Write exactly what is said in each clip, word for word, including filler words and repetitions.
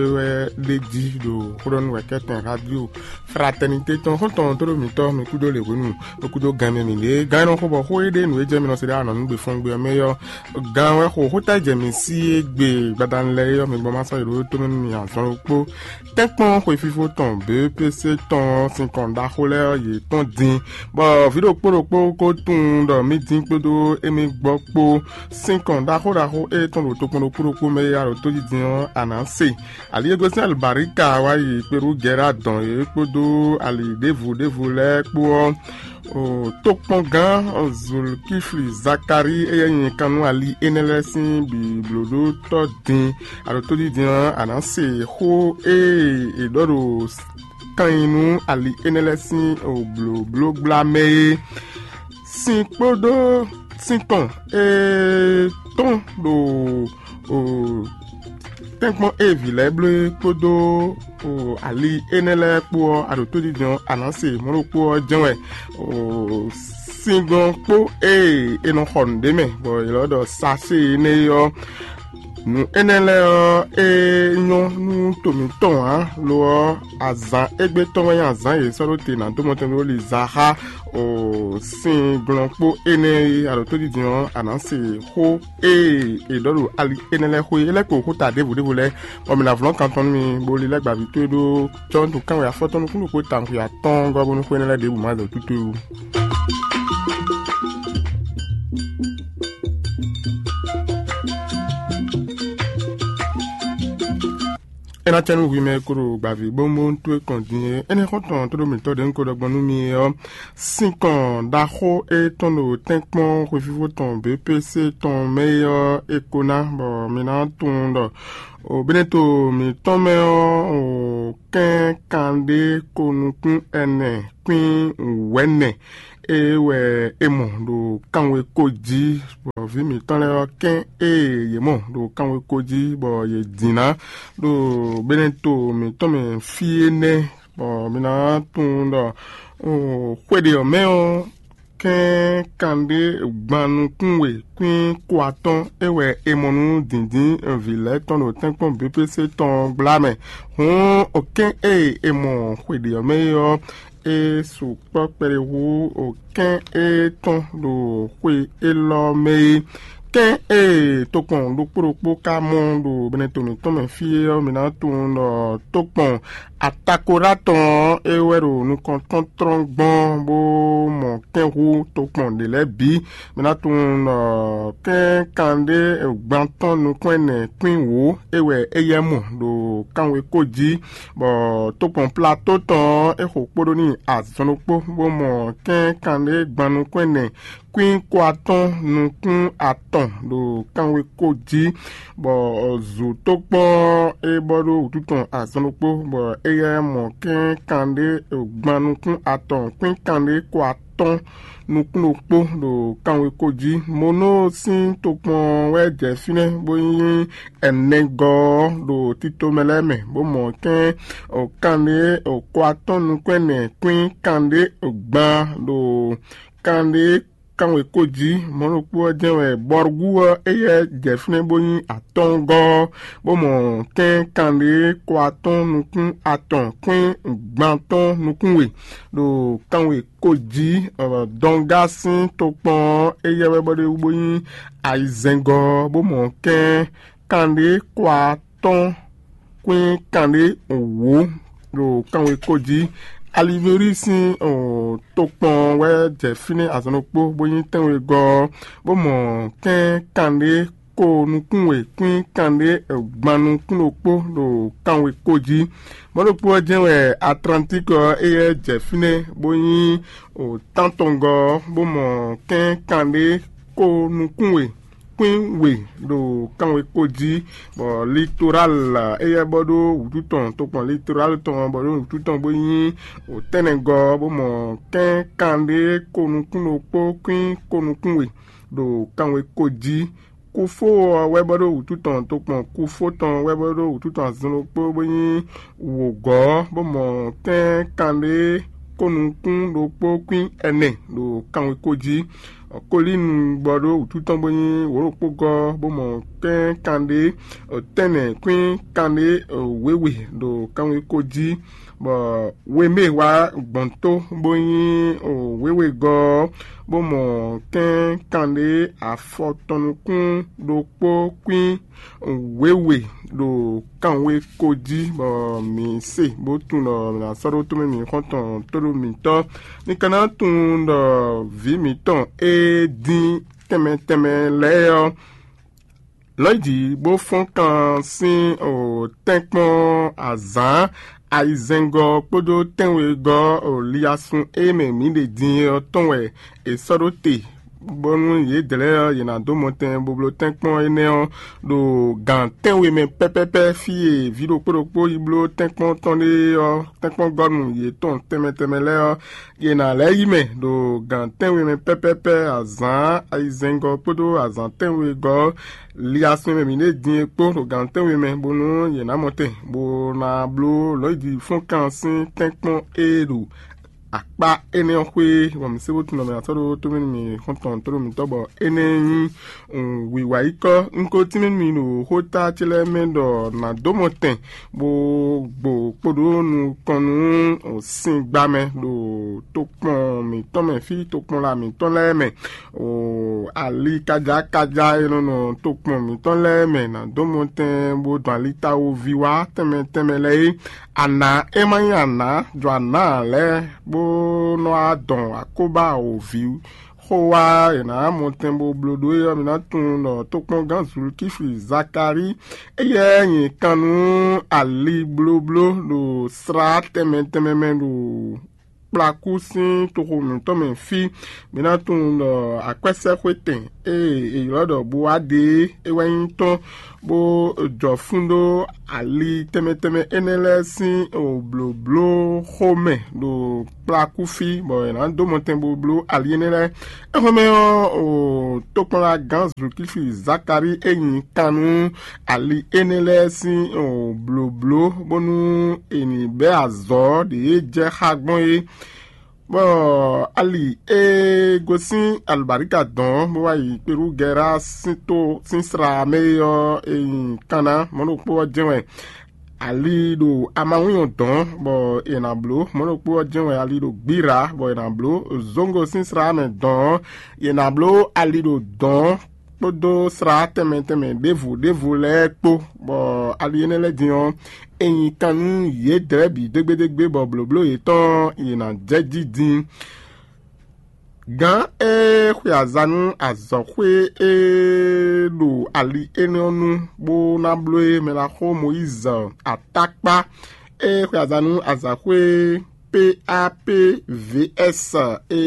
é wɛ ɖ'é jí ɖo xóɖɔ́núwɛkɛ́tɛn radio Fraternité tɔn xɔ́ntɔn tó ɖo mǐtɔn mi kúdó lě hwenu, mi kúdó gan mɛ mǐ ɖe gán nɔ xó bɔ xó e ɖe nǔ e jɛ mi nɔ se ɖe anɔ nú gbe fɔ́n gbe ɔ́ mɛ ɔ́, gan wɛ xo xóta jɛ mǐ sí e gbe gbadanu lɛ́ɛ ɔ́ mi gbɔn ma sɔ́ yi ɖó tó mɛ nú mi azɔn ɖokpó. Tɛ́nkpɔ́n xwefífó tɔn B P C tɔn sín kɔn ɖaxó lɛ́ɛ ɔ́ yě tɔn din, bɔ vǐ ɖokpó ɖokpó ko tunwun ɖɔ mí dín kpódó émí gbɔ kpó sín kɔn ɖaxó ɖaxó e tɔn ɖo tokpɔn ɖokpó ɖokpó mɛ e a ɖo tójí din ɔ́, a nǎ se. Ali e gosín alibǎríka wá yi Perugɛ́ra dɔn yě kpódó ali ɖěvo ɖěvo lɛ́ɛ kpó ɔ́, tokpɔngán Zulkifli Zakalíi e nyí kannú ali énɛ́ lɛ́ɛ sín bǐblóɖótɔ́ din, a ɖo tójí din ɔ́, a nǎ se xó e è ɖɔ ɖo kan nyi nú ali énɛ́ lɛ́ɛ sín blǒblógbla mɛ é. Sin kpódó sin tɔn e tɔn ɖo tɛ́nkpɔ́n e vǐ lɛ́ɛ bló é kpódó ali énɛ́ lɛ́ɛ kpó ɔ́, a ɖo tójijɔ́n a nǎ se mɔ̌ ɖokpó ɔ́ jɛ́n wɛ. Sin glɔ́n kpó e è nɔ xɔ nǔ ɖ'é mɛ, bɔ è lɔ́ ɖɔ sacée énɛ́ é ɔ́, nǔ énɛ́ lɛ́ɛ ɔ́, é nyɔ́ nú to mǐtɔn ǎ; lo ɔ́, azǎn égbé tɔn wɛ nyí azǎn e è sɔ́ ɖó te ná dó mɔtɛn ɖó li za xá sin glɔ́n kpó énɛ́ e a ɖo tójijɔ́n ɔ́, a nǎ se xó e è ɖɔ ɖo ali énɛ́ lɛ́ɛ xwé é lɛ́ kpo xó ta ɖěvo ɖěvo lɛ́ɛ, bɔ mǐ ná vlɔ́n kan tɔn nú mi, bó lilɛ́ gbǎví towe ɖó cɔ́ntu kánwé afɔtɔn nukún ɖokpó tawun xwe atɔ́ɔ́ngɔ́ bónú xó énɛ́ lɛ́ɛ ɖěbǔ má zɔ tútú. É ná cɛ nú hwi mɛ e ko ɖo gbǎví bónbónú towe kɔn din é. Énɛ́ xɔ́ntɔn tó ɖo mǐtɔn ɖě un ko ɖɔ gbɔn nú mi é ɔ́, sinkɔn ɖaxó e tɔn ɖo tɛ́nkpɔ́n xwefífó tɔn B P C tɔn mɛ é ɔ́, è ko ná, bɔ mi ná tunwun ɖɔ o Beneto mǐtɔn mɛ ɔ́, o kɛ́n kanɖé ko nukún ɛnɛ kwín wɛ̌nɛ é wɛ è mɔ ɖo kanweko jí, bɔ vǐ mǐtɔn lɛ́ɛ ɔ́, kɛ́n e yě mɔ ɖo kanweko jí bɔ yě din ná ɖo Beneto mǐtɔn mɛ fí énɛ́, bɔ mi ná tunwun ɖɔ xwe ɖě ɔ́ mɛ ɔ́, kɛ́n kanɖé gban nukún we kwín ko atɔ́ɔ́n é wɛ è mɔ nú dǐndín vǐ lɛ́ɛ tɔn ɖo tɛ́nkpɔ́n B P C tɔn gbla mɛ. Hǔn kɛ́n e è mɔ xwe ɖě ɔ́ mɛ é ɔ́, é sukpɔ́ kpɛɖé hú kɛ́n e tɔn ɖo xwe élɔ́ mɛ é. Kɛ́n e tokpɔn ɖokpó ɖokpó ka mɔ ɖo Beneto mǐtɔn mɛ fí é ɔ́, mi ná tunwun ɖɔ tokpɔn Atakoɖa tɔn ɔ́, é wɛ ɖo nukɔn tɔn tlɔ́n gbɔn bó mɔ kɛ́n hú tokpɔn ɖě lɛ́ɛ bǐ. Mi ná tunwun ɖɔ kɛ́n kanɖé gban tɔn nukún ɛnɛ kwín wǒ é wɛ éyɛ́ mɔ ɖo kanweko jí, bɔ tokpɔn Plato tɔn ɔ́, é xo kpóɖó n'i azɔn ɖokpó, bó mɔ kɛ́n kanɖé gban nukún ɛnɛ kwín ko atɔ́ɔ́n nukún atɔn ɖo kanweko jí, bɔ zǔ tó kpɔ́n é bɔ ɖó wǔtu tɔn azɔn ɖokpó, bɔ éyɛ́ mɔ kɛ́n kanɖé gban nukún atɔn kwín kanɖé ko atɔ́ɔ́n nukún ɖokpó ɖo kanweko jí. Monóo sín tokpɔn wɛ jɛ fínɛ́ bó nyí ɛnɛgɔ́ ɔ́ ɖo tito mɛ lɛ́ɛ mɛ, bó mɔ kɛ́n kanɖé ko atɔ́ɔ́n nukún ɛnɛ kwín kanɖé gban ɖo kanɖé kanweko jí. Mɔ̌ ɖokpó ɔ́ jɛ́n wɛ Bɔrgu ɔ́, éyɛ́ jɛ fínɛ́ bó nyí atɔ́ɔ́ngɔ́ ɔ́, bó mɔ kɛ́n kanɖé ko atɔ́ɔ́n nukún atɔn kwín gban tɔn nukún we ɖo kanweko jí. Dɔngá sín tokpɔn ɔ́, éyɛ́ wɛ bɔ ɖ'é wú bó nyí ayizɛ́ngɔ́ ɔ́, bó mɔ kɛ́n kanɖé ko atɔ́ɔ́n kwín kanɖé wǒ ɖo kanweko jí. Aliveri sín tokpɔn wɛ jɛ fínɛ́ azɔn ɖokpó bó nyí tɛ́nwegɔ́ ɔ́, bó mɔ kɛ́n kanɖé ko nukún we kwín kanɖé gban nukún ɖokpó ɖo kanweko jí. Mɔ̌ ɖokpó ɔ́ jɛ́n wɛ Atlantík ɔ́, éyɛ́ jɛ fínɛ́ bó nyí tántɔngɔ́ ɔ́, bó mɔ kɛ́n kanɖé ko nukún we kwín we ɖo kanweko jí, bɔ Litoral éyɛ́ bɔ ɖó wǔtu tɔn tokpɔn Litoral tɔn bɔ ɖó wǔtu tɔn bó nyí wǒtɛ́nɛgɔ́, bó mɔ kɛ́n kanɖé ko nukún ɖokpó kwín ko nukún we ɖo kanweko jí. Kufó ɔ́ wɛ bɔ ɖó wǔtu tɔn tokpɔn Kufó tɔn wɛ bɔ ɖó wǔtu tɔn azɔn ɖokpó bó nyí wǒgɔ́, bó mɔ kɛ́n kanɖé ko nukún ɖokpó kwín ɛnɛ ɖo kanweko jí. Kolínu gbɔ ɖó wǔtu tɔn bó nyí wǒ ɖokpó gɔ́, bó mɔ kɛ́n kanɖé tɛ́nnɛ kwín kanɖé wěwe ɖo kanweko jí, bɔ wemé wá gbɔn tó bó nyí wěwe gɔ́, bó mɔ kɛ́n kanɖé afɔtɔn nukún ɖokpó kwín wěwe ɖo kanweko jí, bɔ mǐ se bó tunwun ɖɔ mǐ ná sɔ́ ɖó tomɛ mǐ xɔ́ntɔn tóɖó mǐtɔn. Mi ka ná tunwun ɖɔ vǐ mǐtɔn e dín tɛnmɛ tɛnmɛ lɛ́ɛ ɔ́, lɔ̌ yi jǐ bó fɔ́n kan sín tɛ́nkpɔ́n azǎn ayizɛ́ngɔ́ kpódó tɛ́nwegɔ́ liasun e mɛ mǐ ɖe din é ɔ́ tɔn wɛ è sɔ́ ɖó te, bónú yědɛɛ lɛ́ɛ ɔ́, yě ná dó mɔtɛn bo bló tɛ́nkpɔ́n énɛ́ ɔ́ ɖo gǎn tɛ́nwe mɛ pɛ́pɛ́pɛ́ fí e vǐ ɖokpó ɖokpó yi bló tɛ́nkpɔ́n tɔn ɖe ɔ́, tɛ́nkpɔ́ngɔ́nu yětɔn tɛnmɛ tɛnmɛ lɛ́ɛ ɔ́, yě ná lɛ́ yi mɛ ɖo gǎn tɛ́nwe mɛ pɛ́pɛ́pɛ́ azǎn ayizɛ́ngɔ́ kpódó azǎn tɛ́nwegɔ́ liasun e mɛ mǐ ɖe din é kpó ɖo gǎn tɛ́nwe mɛ, bónú yě ná mɔtɛn, bó ná bló lɔ̌ yi jǐ fɔ́n kan sín tɛ́nkpɔ́n e ɖo akpá énɛ́ ɔ́ xwé, bɔ mǐ se bó tunwun ɖɔ mǐ ná sɔ́ ɖó tómɛ nú mì xɔ́ntɔn tónú mǐtɔn, bɔ énɛ́ nyí wǐwá yi kɔ́. Un ko tínmɛ nú mi ɖo xóta ce lɛ́ɛ mɛ ɖɔ nǎ dó mɔtɛn, bó gbo kpo ɖó nukɔn nú singba mɛ ɖo tokpɔn mǐtɔn mɛ, fí tokpɔnla mǐtɔn lɛ́ɛ mɛ, ali kajákajá e nɔ nɔ tokpɔn mǐtɔn lɛ́ɛ mɛ ná dó mɔtɛn, bó dɔn ali tawoví wá tɛnmɛ tɛnmɛ lɛ́ɛ é. Anǎ e ma nyí anǎ jɔ anǎ ǎ lɛ́ɛ, bó nɔ́ wá dɔn akóbá wǒví xó wá, è nǎ mɔ tɛn bó bló ɖó é ɔ́, mi ná tunwun ɖɔ tokpɔngán Zulkífi Zakalíi, éyɛ́ nyi kan nú ali blóbló ɖo slá tɛnmɛ tɛnmɛ mɛ ɖo kplakú sín toxo mǐtɔn mɛ fí. Mi ná tunwun ɖɔ akwɛ́sɛ́xwetɛn e è ylɔ́ ɖɔ Boadée é wɛ nyí tɔn, bó jɔ fún ɖó ali tɛnmɛ tɛnmɛ énɛ́ lɛ́ɛ sín blǒblóxo mɛ ɖo kplakú fí, bɔ è nǎ dó mɔtɛn bó bló ali énɛ́ lɛ́ɛ. Éhɔ́nmɛ ɔ́, tokpɔnlagán Zulkífi Zakalíi e nyi kan nú ali énɛ́ lɛ́ɛ sín blǒbló, bónú è nǐ bɛ́ azɔ̌ ɖě jɛ xá gbɔn é. Bɔ ali e gosín alɔbǎríka dɔ̌n bó wá yi Perugɛra sín to sín sla mɛ é ɔ́, è nyi Kana mɔ̌ ɖokpó ɔ́ jɛ́n wɛ. Ali ɖo amawínyɔ dɔ̌n, bɔ è nǎ bló mɔ̌ ɖokpó ɔ́ jɛ́n wɛ. Ali ɖo gbíra, bɔ è nǎ bló zóŋgo sín sla mɛ dɔ̌n, è nǎ bló ali ɖo dɔ̌n kpódó slá tɛnmɛ tɛnmɛ ɖěvo ɖěvo lɛ́ɛ kpó, bɔ ali énɛ́ lɛ́ɛ din ɔ́, è nyi kan nú yědɛɛ bǐ dégbédégbé, bɔ blǒbló yětɔn yě ná jɛ jí din. Gǎn e xwe aza nú azɔ̌xwé e ɖo ali énɛ́ ɔ́ nu, bó ná bló é mɛ ná xo Mɔyízi atákpá e xwe aza nú azǎxwé P A P V S e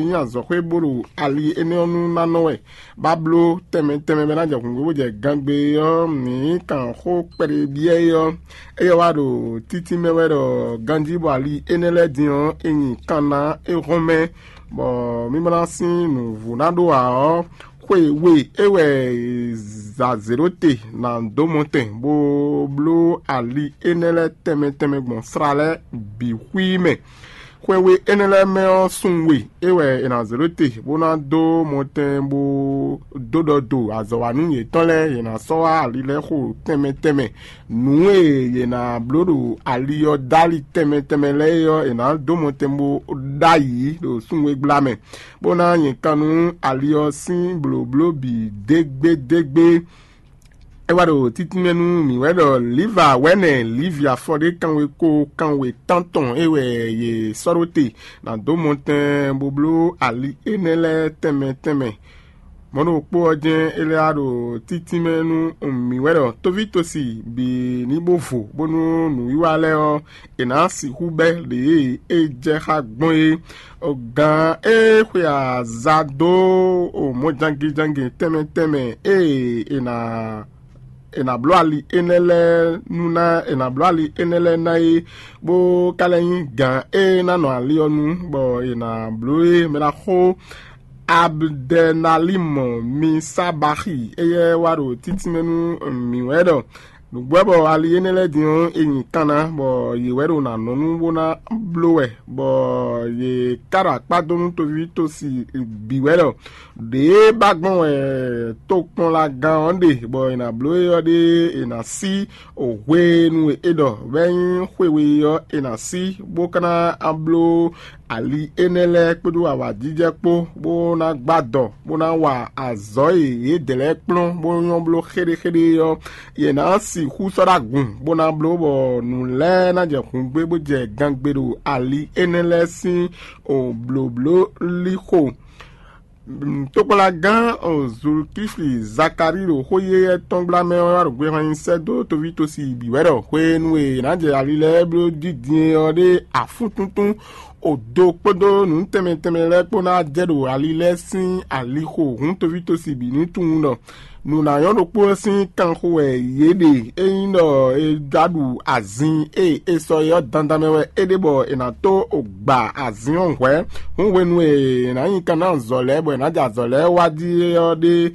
nyí azɔ̌xwé bó ɖo ali énɛ́ ɔ́ nu ná nɔ wɛ. Bá bló tɛnmɛ tɛnmɛ bɔ é ná jɛ hǔngbó bó jɛ gangbe ɔ́, mǐ kan xó kpɛɖé byɔ́ é ɔ́, éyɛ́ wá ɖo títí mɛ wɛ ɖɔ ganjí bɔ ali énɛ́ lɛ́ɛ din ɔ́, è nyi kan ná é hɔn mɛ, bɔ mí ma ná sín nǔvú ná ɖó ǎ ɔ́, xwe we é wɛ zǎ zě ɖó te ná dó mɔtɛn, bó bló ali énɛ́ lɛ́ɛ tɛnmɛ tɛnmɛ gbɔn sla lɛ́ɛ bǐ xwí mɛ. Xwe we énɛ́ lɛ́ɛ mɛ ɔ́, sun we é wɛ è nǎ zě ɖó te, bó ná dó mɔtɛn, bó dó ɖɔ do azɔ̌wanú yětɔn lɛ́ɛ, yě ná sɔ́ wá ali lɛ́ɛ xo tɛnmɛ tɛnmɛ. Nǔ e yě ná bló ɖo ali ɔ́ dali tɛnmɛ tɛnmɛ lɛ́ɛ é ɔ́, è nǎ dó mɔtɛn bó ɖ'ayǐ ɖo súnwégbla mɛ, bó ná nyɛ kan nú ali ɔ́ sín blǒbló bǐ dégbédégbé. É wá ɖo títínmɛ nú mǐ wɛ ɖɔ Liva wɛ̌nɛ Livi afɔ ɖé kanwe ko kanwe tántɔn é wɛ yě sɔ́ ɖó te ná dó mɔtɛn bó bló ali énɛ́ lɛ́ɛ tɛnmɛ tɛnmɛ. Mɔ̌ ɖokpó ɔ́ jɛ́n é lɛ́ wá ɖo títínmɛ nú mǐ wɛ ɖɔ tóvítosi bǐ ní bó vo, bónú nǔwiwa lɛ́ɛ ɔ́, è nǎ sixú bɛ́ ɖě e é jɛ xá gbɔn é. Gǎn e xwe aza dó mɔjangejangɛ tɛnmɛ tɛnmɛ e è nǎ è nǎ bló ali énɛ́ lɛ́ɛ nú ná è nǎ bló ali énɛ́ lɛ́ɛ ná é, bó ka lɛ́ nyí gǎn e ná nɔ ali ɔ́ nu, bɔ è nǎ bló é mɛ ná xó Abdɛnalímɔ Misabaxi, éyɛ́ wá ɖo títínmɛ nú mǐ wɛ ɖɔ Nǔgbó wɛ bɔ ali énɛ́ lɛ́ɛ din ɔ́, è nyi kan ná, bɔ yě wɛ ɖo nǎ nɔ nú bó ná bló wɛ, bɔ yě ká ɖo akpá dó nú toví tosi bǐ wɛ ɖɔ ɖěe ba gbɔn wɛ tokpɔnlagán ɔ́ ɖe, bɔ è nǎ bló é ɔ́ ɖe è nǎ sí hwenu e è ɖɔ bɔ é nyí xwe we ɔ́, è nǎ sí, bó ka ná bló ali énɛ́ lɛ́ɛ kpódó awǎjijɛ kpó, bó ná gbá dɔ, bó ná wa azɔ̌ e yědɛɛ lɛ́ɛ kplɔ́n bó nyɔ́ bló xéɖéxéɖé ɔ́, yě ná sixú sɔ́ ɖó agun, bó ná bló bɔ nǔ lɛ́ɛ ná jɛ hǔngbé bó jɛ gangbe ɖo ali énɛ́ lɛ́ɛ sín blǒbló lixo. Tokpɔnlagán Zulukífli Zakalíi ɖo xó yéyɛ́ tɔn gbla mɛ ɔ́ wá ɖo gbehwan nyi sɛ́ dó toví tosi bǐ wɛ ɖɔ hwenu e è nǎ jɛ ali lɛ́ɛ bló jí din é ɔ́ ɖe afúntúntún odo kpódó nǔ tɛnmɛ tɛnmɛ lɛ́ɛ kpó ná jɛ ɖo ali lɛ́ɛ sín alixo hǔn toví tosi bǐ ní tunwun ɖɔ nǔ ná nyɔ́ ɖokpó ɔ́ sín kanxo wɛ yě ɖe. Ényí ɖɔ è jlá ɖu azin e è sɔ é ɔ́ dandan mɛ wɛ é ɖe bɔ è nǎ tó gba azin ɔ́ hwɛ̌. Hǔn hwenu e è nǎ nyi kan ná azɔ̌ lɛ́ɛ bɔ è nǎ jɛ azɔ̌ lɛ́ɛ wá jí é ɔ́ ɖe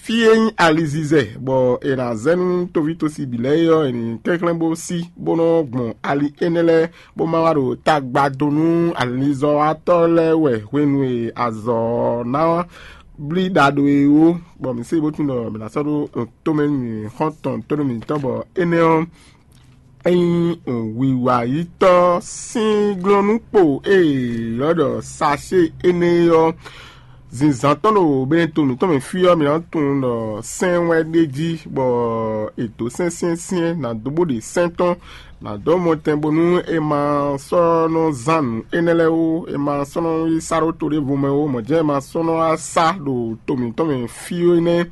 fí e nyí alizizɛ, bɔ è nǎ zɛ nú toví tosi bǐ lɛ́ɛ é ɔ́, è nǐ kɛnklɛ́n bó sí, bó nɔ́ gbɔn ali énɛ́ lɛ́ɛ, bó ma wá ɖo tagba dó nú alizɔ́watɔ́ lɛ́ɛ wɛ hwenu e azɔ̌ ɔ́ ná blí ɖa ɖo é ó, bɔ mǐ se bó tunwun ɖɔ mǐ ná sɔ́ ɖó tomɛ nú mǐ xɔ́n tɔn tó nú mǐtɔn, bɔ énɛ́ ɔ́, é nyí wǐwayítɔ́ sín glɔ́núkpo e è ylɔ́ ɖɔ sacée énɛ́ é ɔ́, zinzǎn tɔn ɖo Benɛto mǐtɔn mɛ fí ɔ́, mǐ ná tunwun ɖɔ sɛ́n wɛ ɖ'é jí, bɔ è dǒ sɛ́n syɛ́nsyɛ́n ná dó bó ɖe sɛ́n tɔn ná dó mɔtɛn bónú è ma sɔ́ nɔ zán nǔ énɛ́ lɛ́ɛ ó, è ma sɔ́ nɔ yi sá ɖó to ɖěvo mɛ ó, mɔ̌ jɛ́n è ma sɔ́ nɔ wá sá ɖo to mǐtɔn mɛ fí ó nɛ́.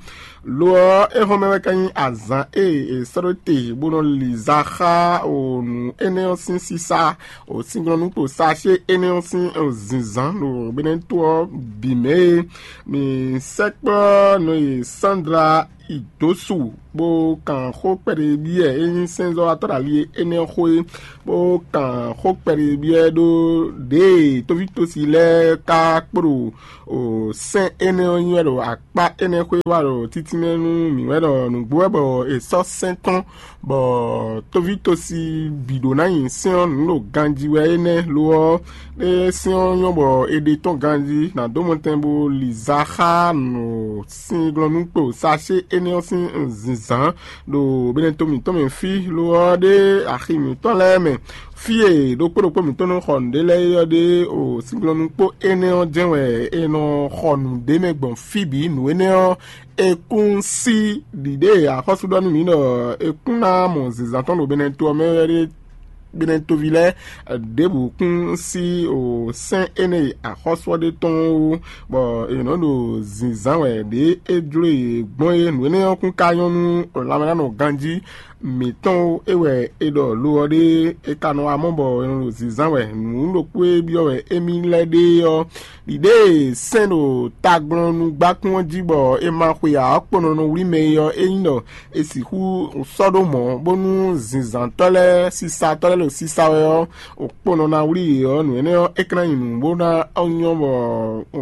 Lo ɔ́, éhɔ́nmɛ wɛ ka nyí azǎn e è sɔ́ ɖó te bó nɔ li za xá o nǔ énɛ́ ɔ́ sín sísá, o sínglɔ́núkpo sacé énɛ́ ɔ́ sín zinzǎn ɖo Benɛto ɔ́ bǐ mɛ e mi sɛkpɔ́ nɔ e Sandra Idosu bó kan xó kpɛɖé byɔ́ ɛ é nyí sɛ́nzɔ́watɔ́ ɖo ali énɛ́ ɔ́ xó é, bó kan xó kpɛɖé byɔ́ ɛ ɖó ɖěe tóvítosi lɛ́ɛ ka kpo ɖo sɛ́n énɛ́ ɔ́ nyi wɛ ɖo akpá énɛ́ xwé wá ɖo títínmɛ nú mǐ wɛ ɖɔ nǔgbó wɛ bɔ è sɔ́ sɛ́n tɔn, bɔ tóvítosi bǐ ɖó ná nyi sɛ́n ɔ́ nǔ ɖo ganjí wɛ é nɛ́. Lo ɔ́, é sɛ́n ɔ́ nyɔ́ bɔ è ɖe tɔ́n ganjí, nǎ dó mɔtɛn bó li za xá nǔ sín glɔ́núkpo sacé énɛ́ ɔ́ sín zinzǎn ɖo Benɛto mǐtɔn mɛ fí. Lo ɔ́, ɖé axi mǐtɔn lɛ́ɛ mɛ, fí e ɖokpó ɖokpó mǐtɔn nɔ xɔ nǔɖé lɛ́ɛ é ɔ́ ɖe o sínglɔ́núkpo énɛ́ ɔ́ jɛ́n wɛ è nɔ xɔ nǔɖé mɛ gbɔn fí bǐ. Nǔ énɛ́ ɔ́, è kún sí ɖiɖě e axɔ́sú ɖɔ nú mǐ ɖɔ è kún ná mɔ zinzǎn tɔn ɖo Benɛto ɔ́ mɛ wɛ ɖé. Benɛtoví lɛ́ɛ ɖěbǔ kún sí o sɛ́n énɛ́ e axɔ́sú ɔ́ ɖe tɔn ó, bɔ è nɔ ɖo zinzǎn wɛ ɖě é jló yě gbɔn é. Nǔ énɛ́ ɔ́ kún ka nyɔ́ nú lanmɛnánɔ ganjí mǐtɔn ó. É wɛ è ɖɔ lo ɔ́ ɖe, è ka nɔ wá mɔ bɔ è nɔ ɖo zinzán wɛ. Nǔ ɖokpó e byɔ́ wɛ émí lɛ́ ɖe ɔ́, ɖiɖée sɛ́n ɖo taglɔ́núgbákún ɔ́ jí bɔ è ma xwe ǎ ɔ́ kpo nɔ nɔ wlí mɛ é ɔ́, é nyí ɖɔ è sixú sɔ́ ɖó mɔ̌, bónú zinzǎntɔ́ lɛ́ɛ, sisatɔ́ lɛ́ɛ ɖo sisa wɛ ɔ́, kpo nɔ ná wlí yě ɔ́, nǔ énɛ́ ɔ́, é ka ná nyí nǔ bó ná nyɔ́ bɔ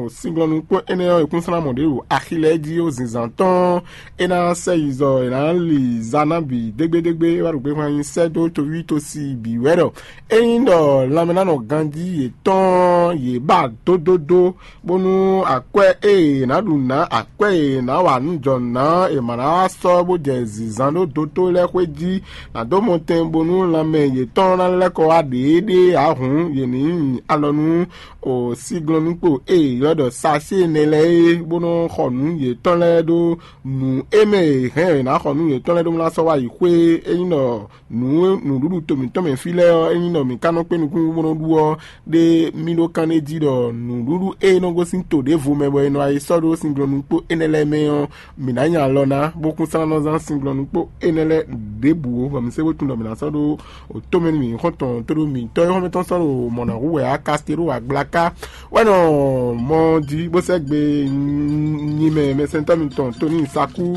sínglɔ́nú kpó énɛ́ ɔ́, è kún sɔ́ ná mɔ ɖě ɖo axi lɛ́ɛ jí ó. Zinzǎn tɔn é ná sɛ yi zɔ è nǎ li za ná bǐ dégbédégbé wá ɖo gbéhwan nyi sɛ́ dó toví tosi bǐ wɛ ɖɔ ényí ɖɔ lanmɛnánɔ ganjí yětɔn yě ba dódódó, bónú akwɛ́ e è nǎ ɖu nǎ, akwɛ́ e è nǎ wa nǔ jɔ nǎ, è ma ná wá sɔ́ bó jɛ zǐnzán ɖó dótó lɛ́ɛ xwé jí, nǎ dó mɔtɛn bónú lanmɛ yětɔn ná lɛ́ kɔ wá ɖěeɖée ǎ hǔn, yě ní nyi alɔ nú o síglɔ́núkpo e è ylɔ́ ɖɔ sacée nɛ́ lɛ́ɛ é, bó nɔ́ xɔ nǔ yětɔn lɛ́ɛ ɖó nǔ e mɛ è hɛn è nǎ xɔ nǔ yětɔn lɛ́ɛ ɖó ná sɔ́ wá yi xwé. Ényí ɖɔ nǔ nǔɖuɖu to mǐtɔn mɛ fí lɛ́ɛ ɔ́, ényí ɖɔ mǐ ka nɔ kpé nukúnnú bó nɔ́ ɖu ɔ́, ɖé mì ɖó kán ɖé jí ɖɔ nǔɖuɖu e nɔ gosín to ɖěvo mɛ bɔ è nɔ yi sɔ́ ɖó sínglɔ́núkpo énɛ́ lɛ́ɛ mɛ ɔ́, mǐ ná nya alɔ ná, bó kún sɔ́ ná nɔ zán sínglɔ́núkpo énɛ́ lɛ́ɛ ɖěbǔ ó, bɔ mǐ se bó tunwun ɖɔ mǐ ná sɔ́ ɖó o tomɛ nú mǐ xɔ́ntɔn tó ɖó mǐtɔn e xɔ́mɛtɔn sɔ́ ɖo mɔ̌ ná hu wɛ á kasté ɖó agblaka wɛ nɔ mɔ jí bó sɛ́ gbe nyi mɛ mɛsɛntɔ́ mitɔn Toni Sakú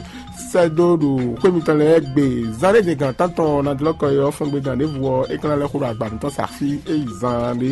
sɛ́ dó ɖo xwé mitɔn lɛ́ɛ gbe. Zán ɖé din gan tántɔn ná jlɔ́ kɔ é ɔ́, fɔ́n gbe gan ɖěvo ɔ́, é ka ná lɛ́ xo ɖo agba mǐtɔn sa fí é yi zaan ɖé.